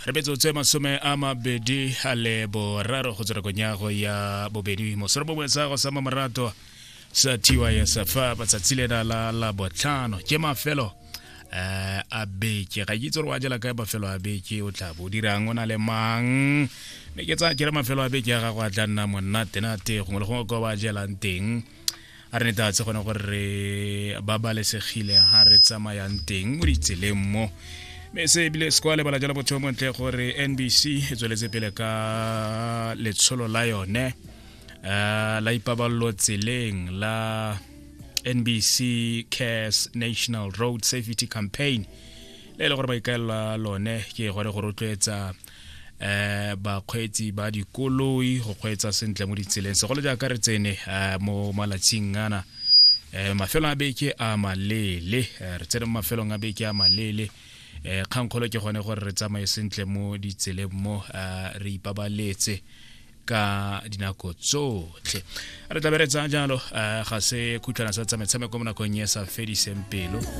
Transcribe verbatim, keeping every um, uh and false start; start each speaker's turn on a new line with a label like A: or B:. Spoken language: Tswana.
A: Re metsotso e masome a mabedi a le boraro go tswa nakong ya go ya bobedi mosoro bongwe sa go sa mamorato sa T Y S F matsatsi lena la la botlhano ke mafelo eh a beke. Ga ke itse gore wa jela kae mafelo a beke, o tla bo dirang, o na le mang, mme ke tsaya kere mafelo a beke ya gago a tla nna monate-nate gongwe le gongwe kwa ba jelang teng. A re netefatse gone gore re babalesegile ga re tsamayang teng mo ditseleng mo, mme se ebile se kwa lebala jalo botho montle gore N B C e tsweletse pele ka letsholo la yone uh, la ipaballo tseleng la N B C Cares National Road Safety Campaign, le e le gore maikaelelo a lone ke gore go rotloetsa eh bakgweetsi ba dikoloi go kgweetsa sentle mo ditseleng, segolo jaaka re tsene eh, mo malatsing ana eh mafelo a beke a maleele. eh, re tsene mo mafelong a beke a maleele. eh kgangkgolo ke gone gore re tsamaye sentle mo ditseleng mo, eh, re ipabaletse ka dinako tsotlhe. Re tla be re tsaya jalo eh, ga se khutlwana sa tsa metshameko mo nakong e sa fediseng pelo.